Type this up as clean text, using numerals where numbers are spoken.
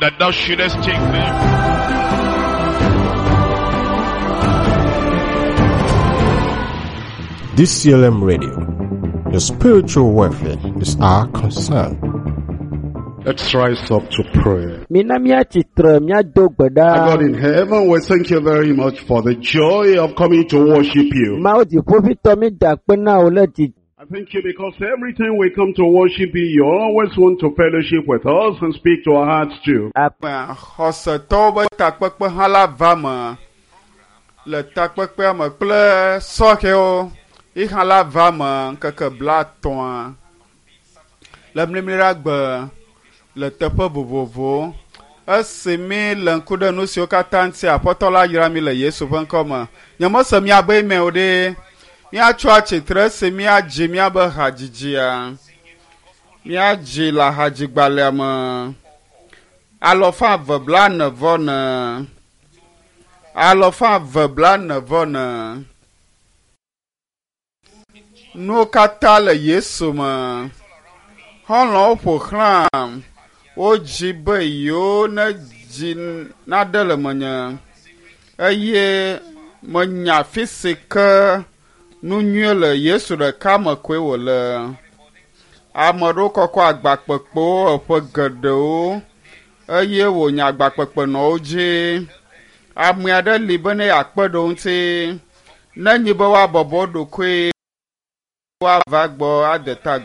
that thou shouldest take them? DCLM Radio. Your spiritual welfare is our concern. Let's rise up to pray. Mina míatsitre míado gbe Our God ɖa. in heaven, we thank you very much for the joy of coming to worship you. Mawu dziƒoʋĩtɔ mi da akpe na wò le dzi. I thank you because every time we come to worship you, you always want to fellowship with us and speak to our hearts too. Akpe Xɔsetɔwo be takpekpe hã la va me le takpekpea me kple sɔhɛwo yi hã la va me ŋkeke 30 le mlimliɖagbe le teƒe vovovowo. Esi mi le ŋku ɖe nu siwo katã ŋuti Aƒetɔ la yra mi le Yesu ƒe ŋkɔ me. Nyemese miabe eme o ɖe. Míatso atsitre esi míadzi míabe hadzidzia. Míadzi le hadzigbalẽa me. 244. 244. Nuwo katã le Yesu me. Xɔlɔ̃wo ƒo xlãm. Wodzi be yewo ne dzi naɖe le menye eye menya afi si ke nu nyui le Yesu ɖeka me koe wòle. Ame ɖewo kɔkɔ agbakpekpewo eƒe geɖewo eye wònya agbakpekpe nɔ wo dzi. Ame aɖe li be ne yeakpe ɖe wo ŋuti nenye be woabɔbɔ wo ɖokui woava gbɔ ade ta.